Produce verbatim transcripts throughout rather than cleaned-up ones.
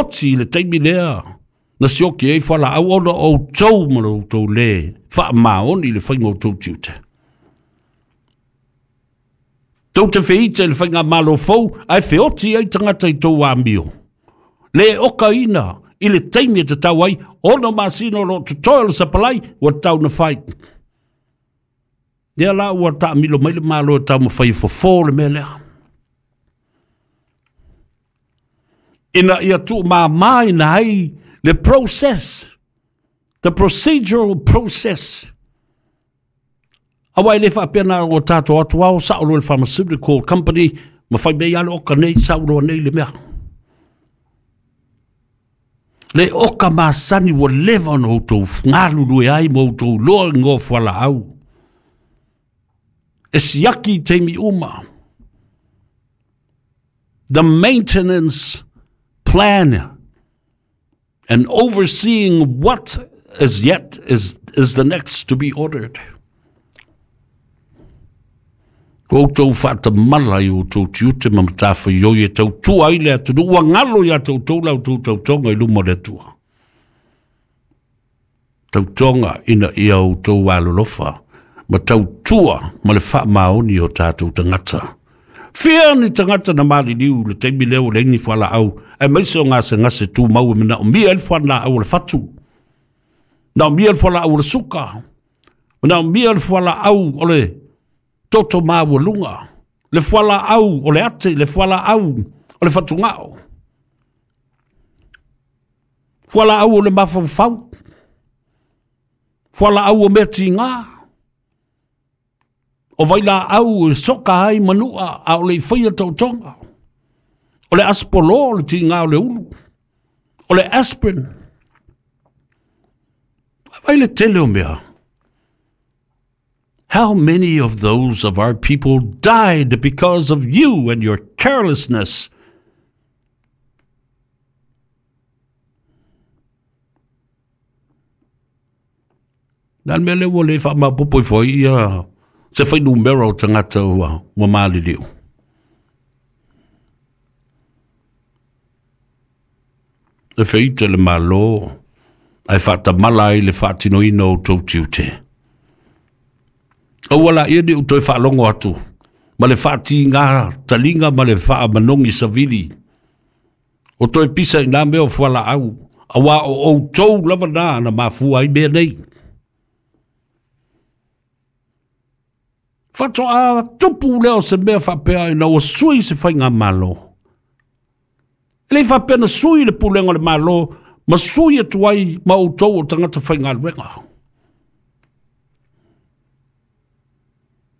feoti le taimi lea na sioki ai fualaau ona o outou ma lo outou lē faamaoni i le faiga o outou tiute. Tou te feita i le faigamalo fou ae feoti ai tagata i tou amio. Le okaina i le taimi e tatau ai ono masina o loo totoe o le sapalai ua tatau na fai. Lea la ua taamilo mai le Malo e taumafai e fofo le mea lea. Ina ia tuumāmā ai le process, the procedural process. Aua e le faapea na o tatou atu ao sao loa le pharmaceutical company ma fai mea ia le oka nei sau loa nei le mea. Le oka masani ua leva ona outou galulue ai ma outou loa i igoa o fualaau. E siaki i taimi uma. The maintenance plan and overseeing what is yet is, is the next to be ordered. Ua outou faatamala i outou tiute ma matafaioi e tautua ai le atunuu ua galo iā toutou la outou tautoga i luma o le Atua. Tautoga ina ia outou alolofa ma tautua ma le faamaoni o tatou tagata. Fia ni tagata na maliliu le taimi lea ua leai ni fualaau aemaise o gasegase tumau e manaomia ai le fualaau o le fatu, manaomia le fualaau o le suka, manaomia le fualaau o le toto maualuga, le fualaau o le ate, le fualaau o le fatugao, fualaau o le mafaufau, fualaau o mea tigā, o vailaau e soka ai manua a o le i faia tautoga, o le aspolo o le tigā o le ulu, o le aspirin. Vai le tele o mea. How many of those of our people died because of you and your carelessness? Na le mea lea ua le faamaopoopo ifo ai ia se fuainumera o tagata ua, ua maliliu. E feita le Malo ae faatamala ai le faatinoina o outou tiute. Aua laia niʻu toe faalogo atu ma le faatigā taliga ma le faamanogi savili o toe pisa i nā mea o fualaau, auā o outou lava nā na mafua ai mea nei. Faatoa tupu lea o se mea faapea ina ua sui se faigamalo. E le i faapea na sui le pulega o le Malo ma sui atu ai ma outou o tagata faigaluega.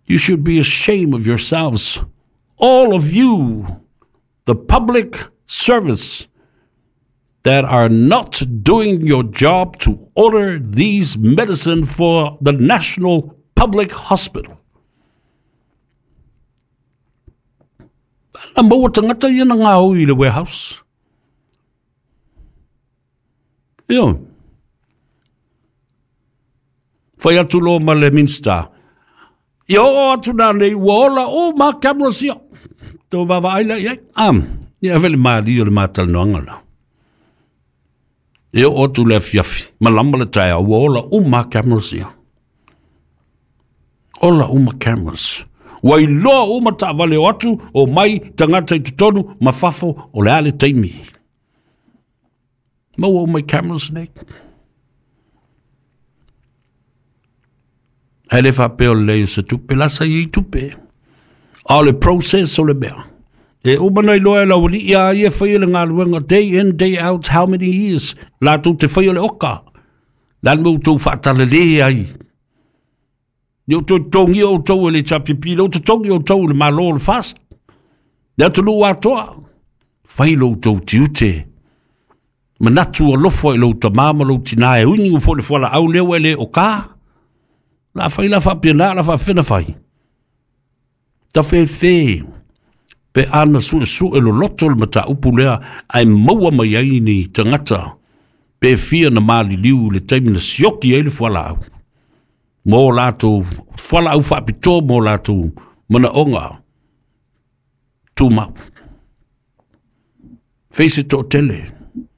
You should be ashamed of yourselves, all of you, the public service, that are not doing your job to order these medicine for the National Public Hospital. Na maua tagata ia na gaoi i le warehouse. Ioe. Fai atu loa ma le Minista. Ia oo atu nanei ua ola uma cameras ia. Tou vaavaai lea i ai. Am, ia ave le malie o le matalanoaga la. E oo atu le afiafi, malama le taeao, ua ola uma cameras ia. Ola uma cameras. Ua iloa uma taavale o atu o mai tagata i totonu ma fafo o le a le taimi. Maua uma i cameras nei. Ae le faapea o le leai o se tupe, la sa i ai tupe. A o le process o le mea. E uma na iloa e le aualii a ia e faia le galuega day in day out how many years latou te faia le oka. Le a le mea ua outou faatalale ai. Ni o toe totogia outou e le H P P, le o totogi outou e le Malo o le FAST. Le atunuu atoa, fai lo outou tiute. Manatu alofa i lou tamā ma lou tinā e uigu foi le fualaau lea ua e le o ka. La fai la faapena, la faafena fai. Tafefe pe ana suesue loloto le mataupu lea ae maua mai ai ni tagata pe fia na maliliu i le taimi na sioki ai le fualaau. Mo latou fualaau faapitoa mo latou manaoga tumau. Fai se toatele.